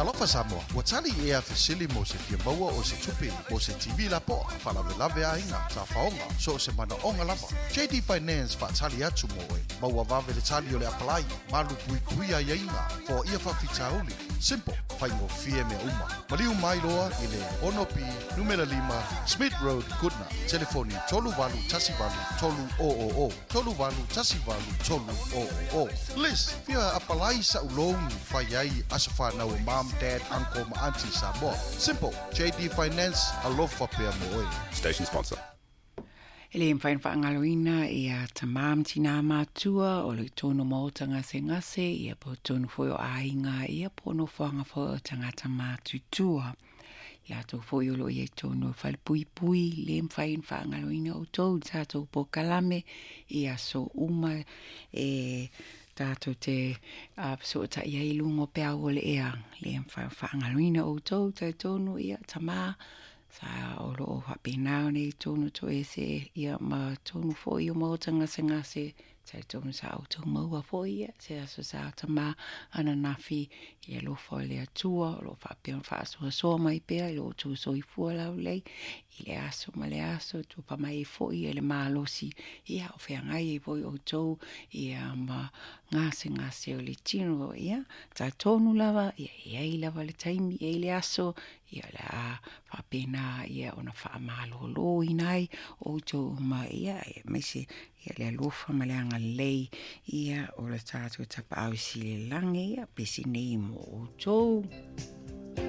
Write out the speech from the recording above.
Talofa Samoa, ua tali ea fesili mo se fia maua o se tupe mo se TV lapoa, faalavelave aiga, tafaoga, so o se manaoga lava. JD Finance faatali atu mo oe. Maua vave le tali o le apalai, malu puipuia aiaiga, foaia faafitauli. Simple, faigofie mea uma. Maliu mai loa i le 6B numera 5 Smith Road, Goodna. Telefoni 3818 300 3818 300. Liz, fia apalai sa'u loan fai ai aso fanau a mom, dad, uncle ma auntie Samoa. Simple, JD Finance, alofa pea mo oe. Station sponsor. E le mafai ona faagaloina ia tamā ma tinā matua o lo i tonu maota gasegase, ia po o tonu foi o aiga, ia po o nofoaga foi o tagata matutua. I latou foi o lo o i ai tonu o falepuipui, le mafai ona faagaloina outou i le tatou polokalame i aso uma e tatou te fesootai ai i luga o peau o le ea. Le mafai ona faagaloina outou, talitonu ia tamā Sa o lo o faapena ona i tonu toese ia ma tonu foi o maota gasegase, talitonu sa outou maua foi ia se aso sa tama ananafi i le alofa o le Atua o lo o faapea ona faasoasoa mai pea i lo outou soifua laulelei i le aso ma le aso, tupa mai ai foi le malosi ia o feagai ai foi outou ia ma gasegase o le tino. Ia talitonu lava ia e i ai lava le taimi, e i ai le aso Ia, o le a faapena ia ona faamaloloina ai outou uma, ia, aemaise ia le alofa ma le agalelei ia o le tatou Tapaau i Silelagi, ia pesi nei mo outou.